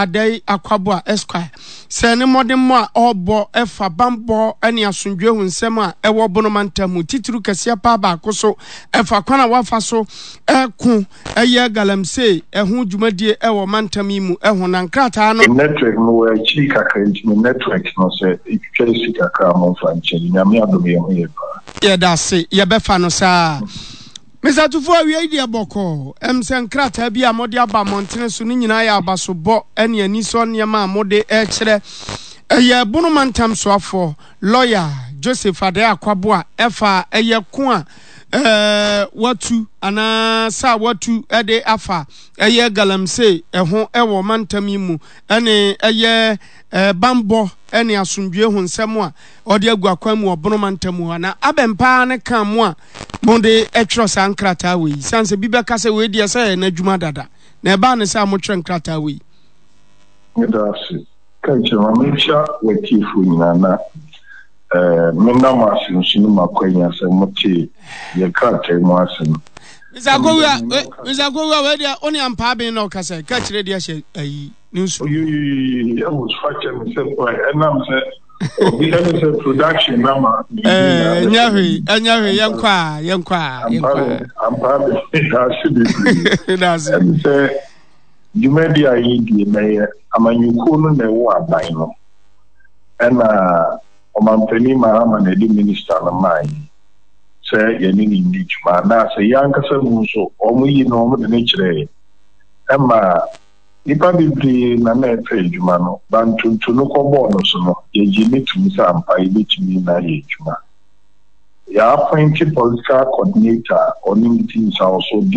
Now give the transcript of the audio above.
Adai Akwaboah Esquire sɛ ne mmɔdemmɔ a ɔrebɔ ɛfa bammɔ ne asomdwoe ho nsɛm a ɛwɔ Bono mantam mu titiriw kɛseɛ paa baako so ɛfa kwan a wafa so ɛko ɛyɛ galamsey ɛho dwumadie ɛwɔ mantam yi mu ɛho na nkrataa no. Me network no wɔ akyiri kakra nti me network no sɛ ɛtwitwa si kakra a momfa nkyɛ me. Nyame adom yɛn ho yɛ paa. Yɛdase, yɛbɛfa no saa. Mister Tufo, awiei deɛ bɔkɔɔ. Ɛm sɛ nkrataa bi a mode aba mmɔntene so no nyinaa yɛ abasobɔ ne anisɔ nneɛma a mode rekyerɛ. Ɛyɛ Bono Mantam Soafoɔ, Lɔya Joseph Adai Akwaboah ɛfa ɛyɛ ko a watu anaa sa a watu de afa ɛyɛ galamsey ho wɔ mantam yi mu ne ɛyɛ bammɔ ne asomdwoe ho nsɛm a ɔde agu akwan mu wɔ Bono mantam mu hɔ. Na abɛn paa ne kan mo a mode twerɛ saa nkrataa wei? Sane sɛ bi bɛka sɛ wei deɛ sɛ ɛyɛ n'adwuma dada, na ɛbaa ne sɛ a motwerɛ nkrataa wei. Meda ase. Ka kyerɛ ma menkyia w'atiefoɔ nyinaa na eh, meda mo ase nso ne mo akwanya sɛ motee yɛ krataa mu asɛm. Mr. Akowua, Mr. Akowua, wei deɛ wo ne ampaa ben na ɔkasa, ka kyerɛ deɛ hyɛ ayi ne nsu. Oyoyoyoyo, ɛwɔ so akyɛ me sɛ ɛnam sɛ Obi ɛne sɛ production na ma. Ɛɛ nyɛ hwee ɛnyɛ hwee yɛn kɔ a yɛn kɔ a yɛn kɔ a. Ampa bɛ daase bebree. Daase. Ɛne sɛ dwumadi a yɛdie na yɛ amanyɔkuo no na ɛwɔ aban no ɛna ɔmampanin Mahama na ɛde minista no maa yɛn sɛ yɛne ne nni dwuma anaasɛ yɛn ankasa mu nso wɔn yi no wɔn de ne kyerɛɛ yɛn ɛma Nnipa bebree na na ɛpɛ adwuma no, ba ntonto no kɔbɔɔ no so no, yɛgyee no toom sɛ ampa yɛbɛtumi na ayɛ adwuma. Yɛappointe political coordinator a ɔne me ti nsawoso de.